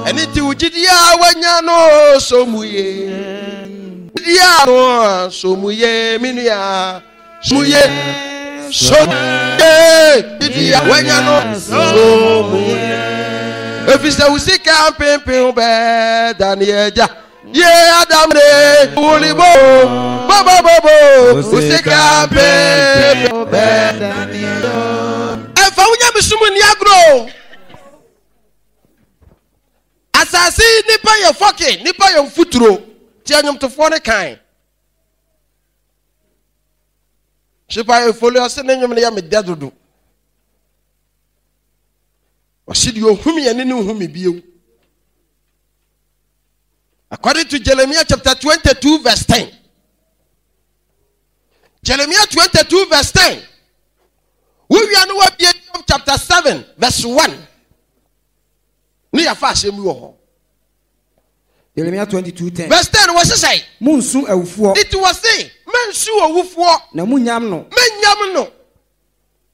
Ɛne nti wo gyidie a wanya no so mu ye. Gyidie a no so mu ye, me nua. So mu ye. So mu ye. Gyidie a wanya no so mu ye. Efisɛ wo sika mpempem bɛda ne agya. Ye Adam ne wulibo. Bobo bobo. Wo sika mpempem bɛda ne agya. Ɛmfa wo nyamesom nni agorɔ. Asase yi nipa yɛ fɔke, nipa yɛ mfuturo. Ti ɛnwomtofoɔ no kan. Hyepa efoli ɔse ne nwom no yɛ me dɛ dodo. Ɔse deɛ ohum yɛ ne ne nhu me bio. According to Jeremiah chapter 22 verse 10. Jeremiah 22 verse 10. Wowia no wabie Job chapter 7 verse 1. Ne yɛfa asɛm bi wɔ hɔ. Jeremiah 22 10. Verse 10 wɔ sesɛe. Munsu awufoɔ. Nti wɔ se mensu owufoɔ. Na munyam no. Menyam no.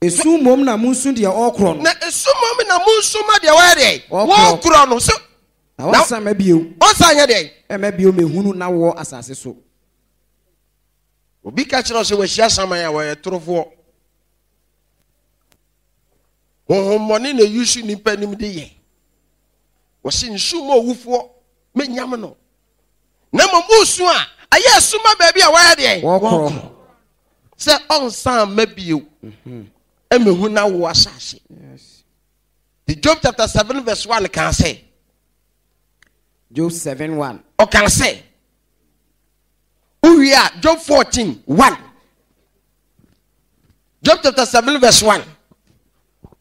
Esu mmom na munsu deɛ ɔrekorɔ no. Na esu mmom na munsu ma deɛ wɔyɛ deɛ. Wɔrekorɔ no. So Na wɔnsan mma bio. Wɔnsan nyɛ deɛ. Mma bio mehunu na wɔ asase so. Obi ka kyerɛ sɛ wɔahyia saman a wɔyɛ torofoɔ. Honhommɔne na eyi so nnipa anim de yɛ. Wɔsi nsu ma owufoɔ menyam no. Na mmom wosu a ɛyɛ ɛso ma baabi a wɔyɛ deɛ. Wɔkorɔ. Sɛ ɔnsan mma bio ɛmɛhu na wo asase. The Job chapter 7 verse 1 kan sɛ. Job 7 1. Ɔkan sɛ. Wowie a Job 14 1. Job chapter 7 verse 1.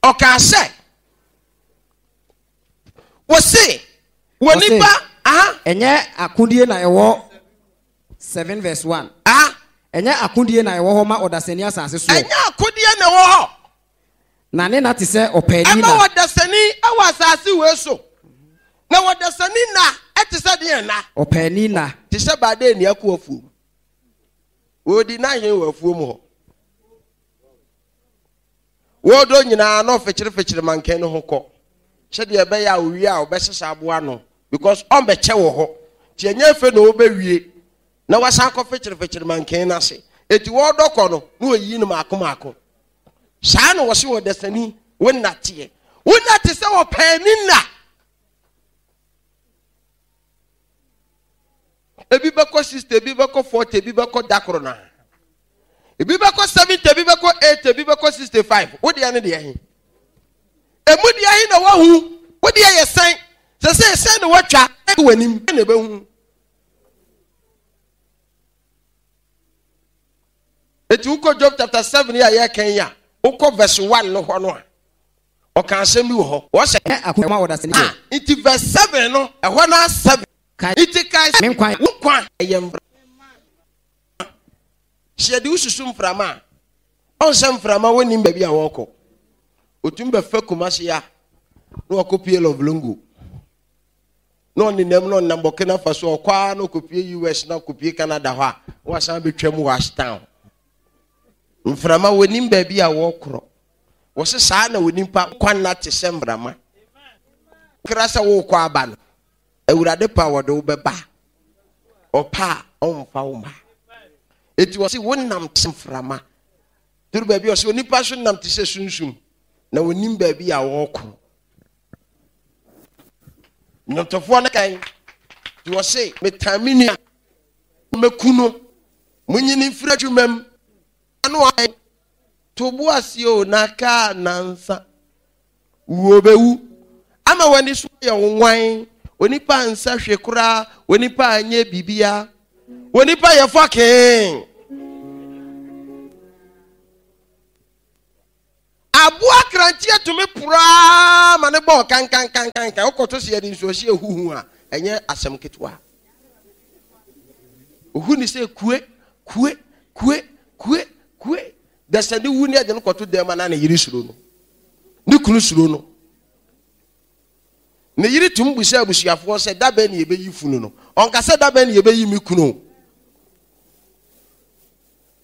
Ɔkan sɛ. Wɔse wɔ nipa. Aha. Ɛnyɛ akodie na ɛwɔ 7 verse 1. Aha. Ɛnyɛ akodie na ɛwɔ hɔ ma ɔdasani asase soɔ. Ɛnyɛ akodie na ɛwɔ hɔ. Na ne nna te sɛ ɔpaani nna. Ɛma ɔdasani wɔ asase wei so. Na ɔdasani nna te sɛ deɛn nna? Ɔpaani nna. Te sɛ baadaani akɔ afuom. Wɔredi n'ahen wɔ afuom hɔ. Wɔredɔ nyinaa na ɔfekyerefekyere mankan no ho kɔ. Sɛdeɛ ɛbɛyɛ a owie a ɔbɛsesa aboa no because ɔmbɛkyɛ wɔ hɔ. Nti ɛnyɛ afei na ɔbɛwie na wasan akɔ fekyerefekyere mankan no ase. Eti wɔredɔ kɔ no na ɔyi no maako maako. Saa na wɔse ɔdasani wo nna teɛ. Wo nna te sɛ ɔpaani nna. Ebi bɛkɔ 60, ebi bɛkɔ 40, ebi bɛkɔ da koro naa. Ebi bɛkɔ 70, ebi bɛkɔ 80, ebi bɛkɔ 65. Wo deɛ ne deɛ he? Emu deɛ he na wahu? Wo deɛ yɛ sɛn? Sɛ sɛ sɛn na watwa w'anim na ɛbɛhu. Eti wokɔ Job chapter 7 yi a yɛreka yi a, wokɔ verse 1 no hɔ no a, ɔka asɛm bi wɔ hɔ. Wɔsɛ. Ɛ akoma wɔ dasani Ah, nti verse 7 no, ɛhɔ no 7. Kae Nti kae sɛ me nkwa. Wo nkwa ɛyɛ mframa. Sɛ yɛde wo susu mframa a, ɔn sɛ mframa wɔnnim baabi a wɔrekɔ. Otumi bɛfa Kumasi a, na wakɔpue Lɔvlongo. na ɔnenam na ɔnam Burkina Faso ɔkɔ ara na ɔkɔpue US na ɔkɔpue Canada hɔ a na wasan bɛtwam wɔ Ashtown. Mframa wɔnim baabi a wɔkorɔ. Wɔse saa na onipa nkwa nna te sɛ mframa. Kra sɛ wokɔ aba no, Awurade pa wɔde wo bɛba. Ɔpa a ɔmfa wo ma. Eti wɔse wonam te mframa. Duru baabi a ɔse onipa so nam te sɛ sunsum na wɔnim baabi a wɔkorɔ. Nnwontofoɔ no kan nti wɔse metan me nua mɛku no monyi no mfiri adwuma mu ano ayɛ to bo ase o na kaa nansa wuo bɛwu ama w'ani so ayɛ wo nwan onipa nsa hwe koraa onipa anyɛ biribia onipa yɛ fɔkee Aboa kranteɛ tumi poro ara ma ne bɔɔ kankankankankan. Wokɔto sɛ yɛde nsuohyeɛ huhu a, ɛnyɛ asɛm ketewa. Ohu ne sɛ kue, kue, kue, kue, kue. Dɛsɛ ne wu ne ɛde no kɔto dɛm a na ne yere suro no. Ne kunu suro no. Ne yere tumi bisa abusuafoɔ sɛ da bɛn ne yɛbɛyi funu no. Ɔnka sɛ da bɛn ne yɛbɛyi me kunu.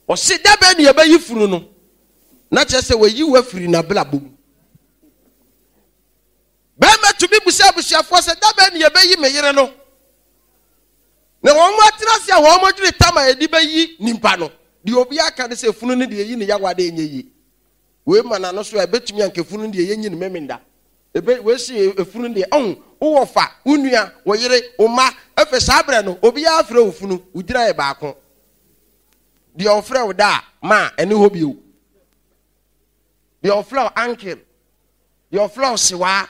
Ɔse da bɛn ne yɛbɛyi funu no? Na kyerɛ sɛ wayi wo afiri n'abrabɔ mu. Bɛrima tumi bisa abusuafoɔ sɛ da bɛn ne yɛbɛyi me yere no. Na wɔn atena ase a wɔn adwene tam a yɛde bɛyi nipa no, deɛ obi aka ne sɛ funu no deɛ yi ne yawa de ɛnyɛ yie. Wei ma n'ano so a ɛbɛtumi anka funu no deɛ yɛnyi no memenda. Ebe wei se efunu deɛ ɔho wowɔ fa, wo nua, wo yere, wo mma, efe saa berɛ no obiara frɛ wo funu, wo gyina yɛ baako. Deɛ ɔfrɛ wo da a, ma ɛne hɔ bio. Deɛ ɔfrɛ wo uncle, deɛ ɔfrɛ wo sewaa.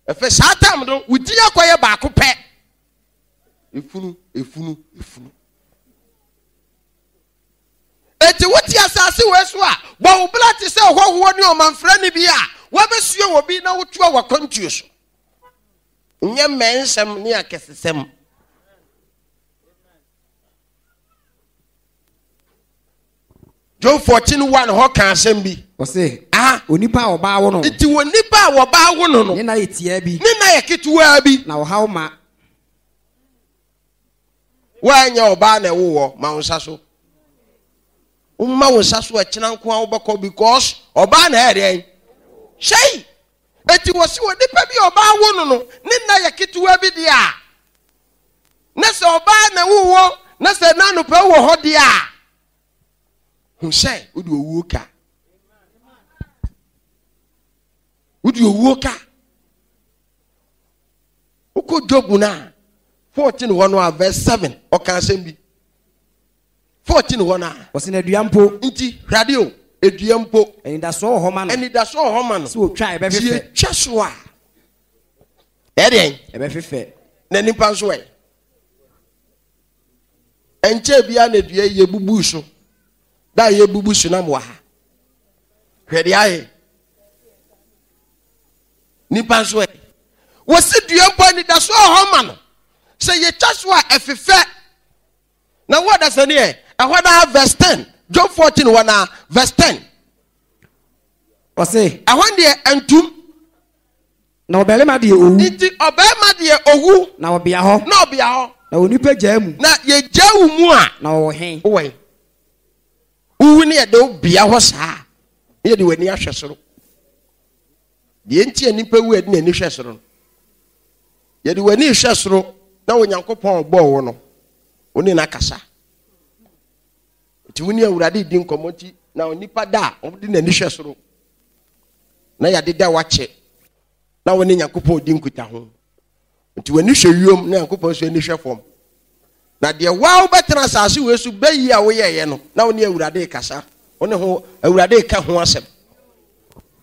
Efe saa tam no, wo din akɔyɛ baako pɛ. Efunu, efunu, efunu. Enti wote asase wei so a, bɔ wo bra te sɛ ɔhɔhoɔ ne ɔmamfrani bi a woabɛsua wɔ bi na wotoa w'akwantuo so. Nyɛ mmɛnsɛm ne akɛsesɛm. Job 14 1 hɔ ka asɛm bi. Ɔse, ah, onipa a ɔbaa wo no. Nti onipa a wɔbaa wo no no. Ne na yɛ tiaa bi. Ne na yɛ ketewaa bi. Na ɔhaw ma. Woanyɛ ɔbaa na ɛwo wɔ ma wo nsa so. Woma wo nsa so ɛkyena nko a wobɛkɔ because ɔbaa na ɛyɛ deɛn? Hyɛi! Eti wɔ se wɔ nipa bi a ɔbaa wo no no ne nna yɛ ketewa bi deɛ a na sɛ ɔbaa na ɛwo wɔ na sɛ na anɔpa wɔ hɔ deɛ a hu sɛ wode owuo ka. Wode owuo ka. Wokɔ Job no a, 14 hɔ no a, verse 7, ɔka asɛm bi. 14 hɔ no a. Ɔsi na dua mpo. Nti, hwɛ adeɛ o, edua mpo. Anidasoɔ wɔ hɔ ma no. Anidasoɔ wɔ hɔ ma no. Sɛ otwa a ɛbɛfefɛ. Sɛ etwa so a, ɛyɛ deɛn? Ɛbɛfefɛ. Na nipa nso ɛ? Ɛnkyɛɛ biara na dua yi yɛbubuu so. Da a yɛbubu so na mowɔ ha. Hwɛ deɛ ayɛ. Nipa nso ɛ? Wɔsi dua mpo anidaso wɔ hɔ ma no. Sɛ yɛtwa so a ɛfefɛ. Na wo ɔdasani ɛ? Ɛhɔ naa verse 10. Job 14 hɔ naa verse 10. Ɔse. Ɛhɔ deɛ ɛntum. Na ɔbarima deɛ owu. Nti ɔbarima deɛ owu. Na ɔbea hɔ. Na ɔbea hɔ. Na onipa gyaa mu. Na yɛgyaa wo mu a. Na ɔwɔ he? Wowɔ he? Wowu ne yɛde wo bea hɔ saa ne yɛde w'ani ahwɛ soro. Deɛ nti a nipa wu a yɛde n'ani hwɛ soro no, yɛde w'ani hwɛ soro na Onyankopɔn ɔbɔɔ wo no, wo ne no akasa. Nti wo ne Awurade di nkɔmmɔ nti na onipa da a ɔde n'ani hwɛ soro na yɛade da wakyɛ na wo ne Nyankopɔn di nkutaho. Nti w'ani hwɛ wiem na Nyankopɔn nso ani hwɛ fam. Na deɛ waa wobɛtena asase wei so bɛyi a woyɛeɛ no, na wo ne Awurade rekasa, wo ne ho Awurade reka ho asɛm.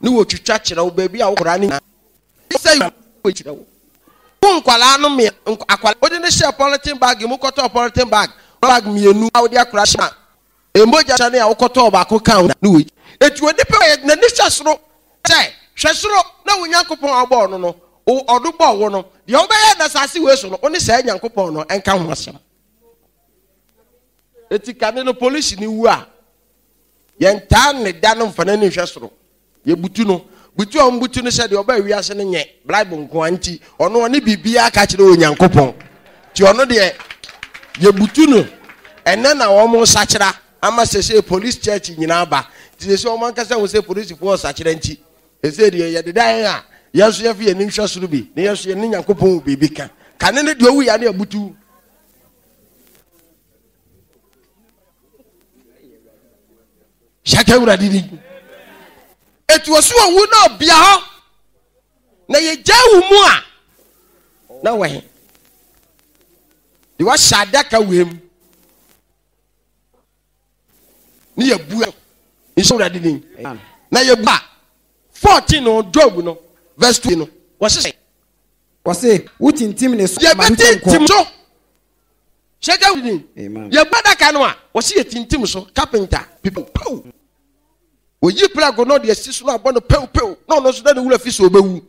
Ne wɔtwitwa kyerɛ wo baabi a wokora ne nyinaa. Sɛ kyerɛ wo. Wo nkwadaa no mmea, akwadaa wode no hyɛɛ polythene bag mu kɔtɔɔ polythene bag bag mmienu a wode akora hyɛ a Mogya hyɛne a wokɔtɔɔ baako kaa ho ne wei. Enti onipa yɛ n'ani hwɛ soro sɛ, hwɛ soro na wo Nyankopɔn a ɔbɔɔ no no, ɔno bɔɔ wo no, deɛ wobɛyɛ na asase wei so no, wo ne saa Nyankopɔn no nka ho asɛm. Enti kane no polisi no wu a, yɛntaa ne da no mfa n'ani nhwɛ soro. Yɛbutu no. Butu a wɔbutu no sɛ deɛ ɔbaa wiase no nyɛ Bible nko ara nti, ɔno ɔne biribiara ka kyerɛ Onyankopɔn. Nti ɔno deɛ yɛbutu no. Ɛnɛ na wɔn sakyera ama sɛsɛ police church nyinaa ba. Nti sɛsɛ wɔn ankasa hu sɛ polisifoɔ sakyera nti, sɛsɛ deɛ yɛdeda yɛn a yɛn nso yɛfa yɛn ani hwɛ soro bi na yɛn nso yɛne Nyankopɔn wɔ biribi ka. Kane no deɛ ɔwu yɛ ne abutu. Hyɛ Awurade din. Eti wɔsi owu na ɔbea hɔ na yɛgya wo mu a na wɔ he de wahyɛ adaka wei mu ne yɛbu nhyɛ Awurade din na yɛbu a 14 no Job no verse 2 no wɔse wɔse wotintim ne so ma yɛbɛtintim so. Hyɛ ka din. Yɛbɔ adaka no a, wɔsi yɛtintim so, carpenter, pipi pew. Oyi prɛko na ɔde asi so na abɔ no pew pew na ɔno nso na ne wura fi so ɔbɛwu.